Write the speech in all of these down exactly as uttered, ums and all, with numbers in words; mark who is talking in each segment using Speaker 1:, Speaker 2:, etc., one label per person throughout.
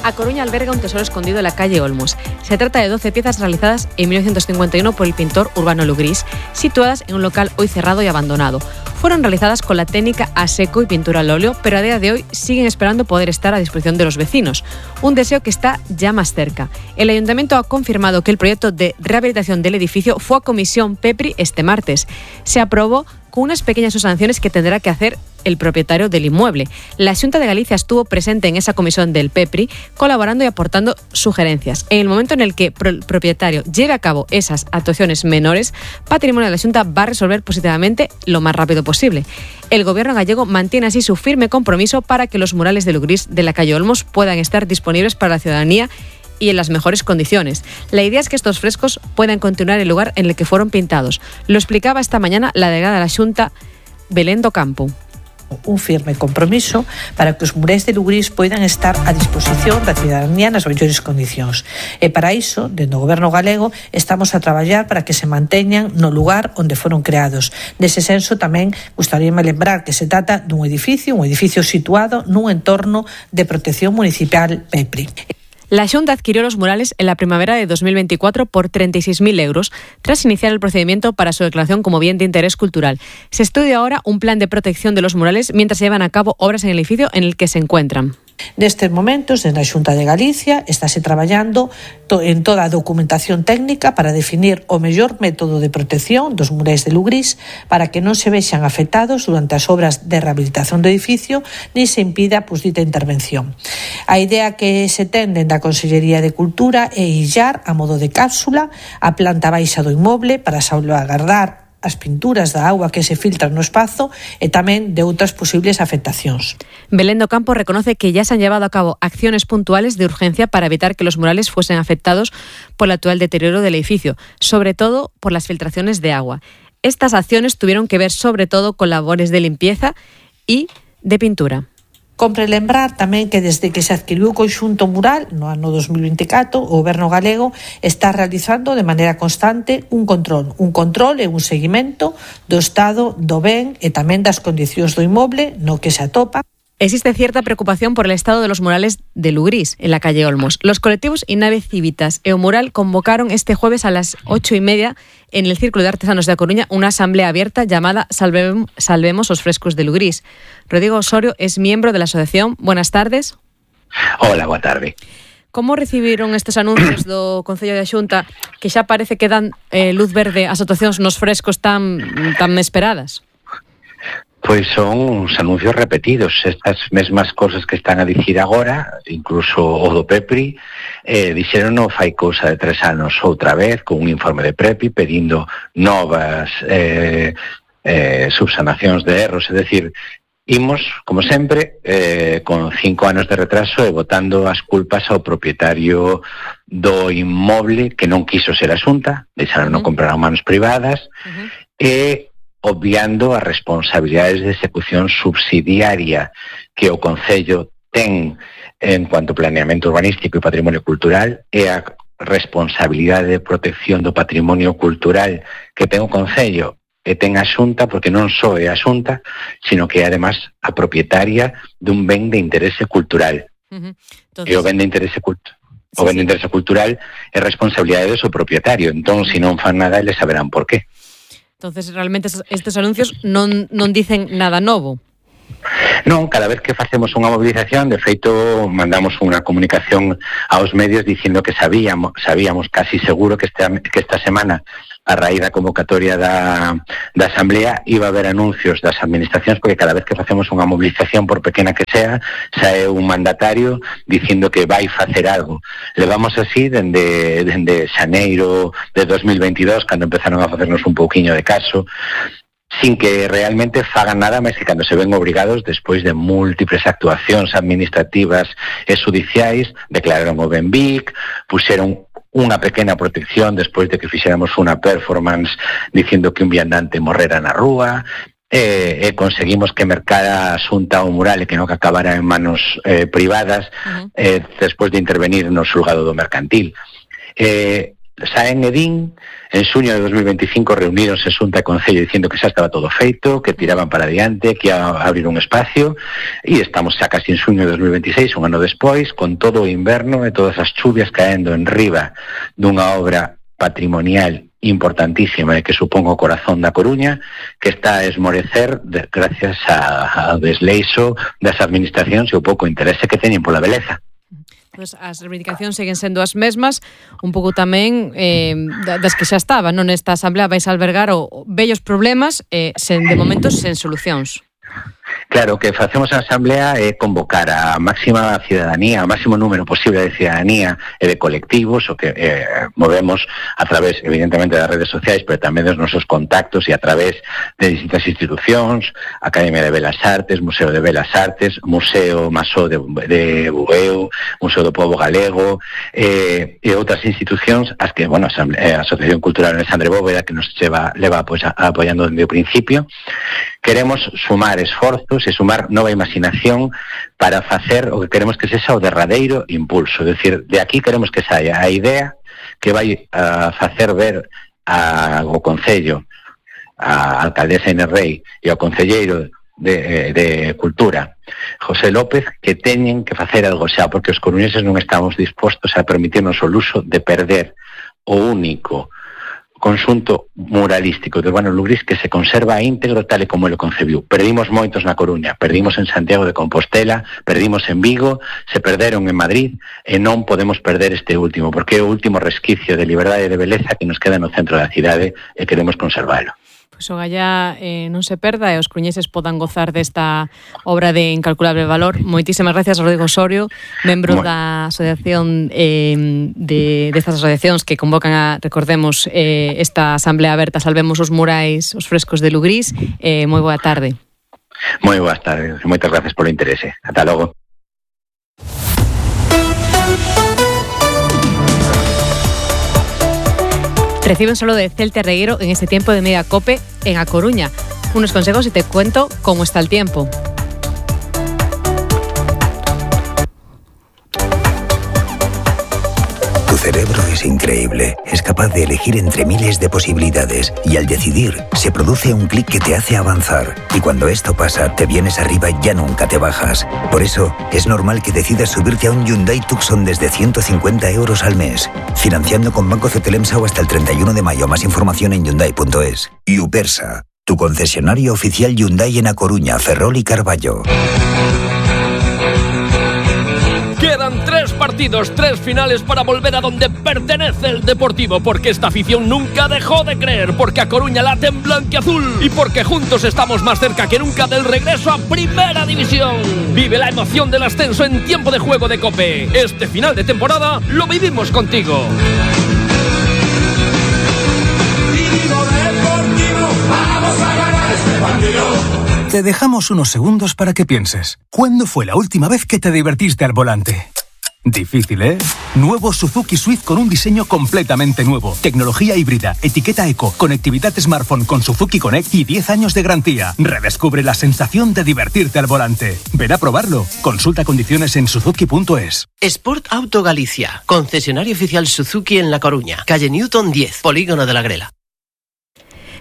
Speaker 1: A Coruña alberga un tesoro escondido en la calle Olmos. Se trata de doce piezas realizadas en mil novecientos cincuenta y uno por el pintor Urbano Lugrís, situadas en un local hoy cerrado y abandonado. Fueron realizadas con la técnica a seco y pintura al óleo, pero a día de hoy siguen esperando poder estar a disposición de los vecinos. Un deseo que está ya más cerca. El Ayuntamiento ha confirmado que el proyecto de rehabilitación del edificio fue a comisión PEPRI este martes. Se aprobó con unas pequeñas sanciones que tendrá que hacer el propietario del inmueble. La Xunta de Galicia estuvo presente en esa comisión del PEPRI, colaborando y aportando sugerencias. En el momento en el que el propietario lleve a cabo esas actuaciones menores, Patrimonio de la Xunta va a resolver positivamente lo más rápido posible. El gobierno gallego mantiene así su firme compromiso para que los murales de Lugrís de la calle Olmos puedan estar disponibles para la ciudadanía y en las mejores condiciones. La idea es que estos frescos puedan continuar en el lugar en el que fueron pintados. Lo explicaba esta mañana la delegada de la Xunta, Belén do Campo.
Speaker 2: Un firme compromiso para que os murais de Lugrís poidan estar a disposición da ciudadanía nas mellores condicións. E para iso, dentro do Goberno galego, estamos a traballar para que se manteñan no lugar onde foron creados. Nese senso, tamén gustaríame lembrar que se trata dun edificio, un edificio situado nun entorno de protección municipal PEPRI.
Speaker 1: La Xunta adquirió los murales en la primavera de dos mil veinticuatro por treinta y seis mil euros, tras iniciar el procedimiento para su declaración como bien de interés cultural. Se estudia ahora un plan de protección de los murales mientras se llevan a cabo obras en el edificio en el que se encuentran.
Speaker 2: Nestes momentos, desde a Xunta de Galicia, estáse traballando en toda a documentación técnica para definir o mellor método de protección dos murais de Lugrís para que non se vexan afectados durante as obras de rehabilitación do edificio ni se impida pues, dita intervención. A idea que se ten dentro da Consellería de Cultura é illar a modo de cápsula a planta baixa do inmoble para salvaguardar as pinturas da auga que se filtran no espazo e tamén de outras posibles afectacións.
Speaker 1: Belén do Campo reconoce que ya se han llevado a cabo acciones puntuales de urgencia para evitar que los murales fuesen afectados por el actual deterioro del edificio, sobre todo por las filtraciones de agua. Estas acciones tuvieron que ver sobre todo con labores de limpieza y de pintura.
Speaker 2: Compre lembrar tamén que desde que se adquiriu o conxunto mural no ano dos mil veinticuatro, o Goberno galego está realizando de maneira constante un control, un control e un seguimento do estado do ben e tamén das condicións do inmoble no que se atopa.
Speaker 1: Existe cierta preocupación por el estado de los murales de Lugrís, en la calle Olmos. Los colectivos Inave Civitas e o Mural convocaron este jueves a las ocho y media en el Círculo de Artesanos de A Coruña una asamblea abierta llamada Salvemos, Salvemos os Frescos de Lugrís. Rodrigo Osorio es miembro de la asociación. Buenas tardes.
Speaker 3: Hola, boa tarde.
Speaker 1: Como recibiron estes anuncios do Concello da Xunta que xa parece que dan eh, luz verde ás actuacións nos frescos tan, tan esperadas?
Speaker 3: Pois son uns anuncios repetidos, estas mesmas cosas que están a dicir agora, incluso o do PEPRI, eh, dixeron no fai cousa de tres anos outra vez, con un informe de PREPI pedindo novas eh, eh, subsanacións de erros, é dicir, imos, como sempre, eh, con cinco anos de retraso e botando as culpas ao propietario do inmoble que non quiso ser a Xunta, deixaron uh-huh. non comprar a manos privadas, uh-huh. e obviando as responsabilidades de execución subsidiaria que o Concello ten en cuanto a planeamento urbanístico e patrimonio cultural e a responsabilidade de protección do patrimonio cultural que ten o Concello e ten a Xunta, porque non só é a Xunta, sino que é además a propietaria dun ben de interese cultural. Uh-huh. Entonces... E o ben de interese cultural. O ben de interese cultural é responsabilidade do seu propietario. Entón, se non fan nada, eles saberán por qué.
Speaker 1: Entonces, realmente estes anuncios non, non dicen nada novo.
Speaker 3: Non, cada vez que facemos unha movilización, de feito, mandamos unha comunicación aos medios dicindo que sabíamos, sabíamos casi seguro que esta, que esta semana, a raíz da convocatoria da, da Asamblea, iba a haber anuncios das administracións, porque cada vez que facemos unha movilización, por pequena que sea, sae un mandatario dicindo que vai facer algo. Levamos así dende, dende xaneiro de dos mil veintidós, cando empezaron a facernos un pouquiño de caso, sin que realmente fagan nada máis que cando se ven obrigados despois de múltiples actuacións administrativas e judiciais, declararon o Benvic, puxeron unha pequena protección despois de que fixéramos unha performance dicindo que un viandante morrera na rúa, e, e conseguimos que mercara a Xunta o mural e que non que acabara en manos eh, privadas uh-huh. eh, despois de intervenir no xulgado do mercantil. Eh, saen e din, en xuño de dos mil veinticinco reunironse Xunta e Concello dicindo que xa estaba todo feito, que tiraban para adiante, que ia a abrir un espacio, e estamos xa casi en xuño de dos mil veintiséis, un ano despois, con todo o inverno e todas as chuvias caendo en riba dunha obra patrimonial importantísima e que supón o corazón da Coruña, que está a esmorecer de, gracias ao desleixo das administracións e o pouco interese que teñen pola beleza.
Speaker 1: Pues as reivindicacións seguen sendo as mesmas, un pouco tamén eh, das que xa estaban, non? Nesta asamblea vais a albergar o vellos problemas, eh, sen, de momento sen solucións.
Speaker 3: Claro, o que facemos a Asamblea é convocar a máxima cidadanía, o máximo número posible de cidadanía e de colectivos, o que eh, movemos a través, evidentemente, das redes sociais, pero tamén dos nosos contactos e a través de distintas institucións, Academia de Belas Artes, Museo de Belas Artes, Museo Masó de, de Bueu, Museo do Pobo Galego, eh, e outras institucións, as que, bueno, a Asociación Cultural Alexandre Bóveda, que nos lleva, leva pues, a, apoiando desde o principio. Queremos sumar esforzos e sumar nova imaginación para facer o que queremos que sexa o derradeiro impulso. É dicir, de aquí queremos que saia a idea que vai a facer ver ao Concello, a alcaldesa Inés Rei e ao concelleiro de, de Cultura, José López, que teñen que facer algo xa, porque os coruñeses non estamos dispostos a permitirnos o luxo de perder o único conxunto muralístico de Urbano Lugrís que se conserva íntegro tal e como ele concebiu. Perdimos moitos na Coruña, perdimos en Santiago de Compostela, perdimos en Vigo, se perderon en Madrid e non podemos perder este último, porque é o último resquicio de liberdade e de beleza que nos queda no centro da cidade e queremos conservalo.
Speaker 1: Pois o Gallá eh, non se perda e os coruñeses podan gozar desta obra de incalculable valor. Moitísimas gracias, Rodrigo Osorio, membro bueno. da asociación eh, de destas asociacións que convocan a, recordemos, eh, esta asamblea aberta Salvemos os murais, os frescos de Lugrís. Eh, moi boa tarde.
Speaker 3: Moi boas tardes, moitas gracias polo interese. Ata logo.
Speaker 1: Reciben solo de Celte Regueiro en este tiempo de Media Cope en A Coruña. Unos consejos y te cuento cómo está el tiempo.
Speaker 4: Tu cerebro es increíble. Es capaz de elegir entre miles de posibilidades y al decidir se produce un clic que te hace avanzar. Y cuando esto pasa, te vienes arriba y ya nunca te bajas. Por eso, es normal que decidas subirte a un Hyundai Tucson desde ciento cincuenta euros al mes. Financiando con Banco Cetelemsao hasta el treinta y uno de mayo. Más información en hyundai punto es. Upersa, tu concesionario oficial Hyundai en A Coruña, Ferrol y Carballo.
Speaker 5: Quedan tres partidos, tres finales para volver a donde pertenece el Deportivo, porque esta afición nunca dejó de creer, porque A Coruña late en blanquiazul y porque juntos estamos más cerca que nunca del regreso a Primera División. Vive la emoción del ascenso en tiempo de juego de COPE. Este final de temporada lo vivimos contigo.
Speaker 6: Vamos a ganar este partido. Te dejamos unos segundos para que pienses. ¿Cuándo fue la última vez que te divertiste al volante? Difícil, ¿eh? Nuevo Suzuki Swift con un diseño completamente nuevo. Tecnología híbrida, etiqueta eco, conectividad smartphone con Suzuki Connect y diez años de garantía. Redescubre la sensación de divertirte al volante. Ven a probarlo. Consulta condiciones en suzuki punto es.
Speaker 7: Sport Auto Galicia, concesionario oficial Suzuki en La Coruña, calle Newton diez, Polígono de la Grela.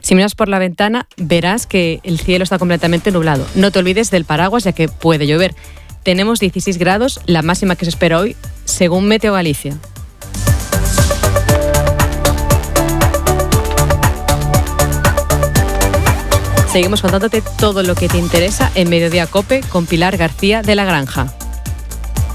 Speaker 1: Si miras por la ventana, verás que el cielo está completamente nublado. No te olvides del paraguas, ya que puede llover. Tenemos dieciséis grados, la máxima que se espera hoy, según Meteo Galicia. Seguimos contándote todo lo que te interesa en Mediodía Cope con Pilar García de la Granja.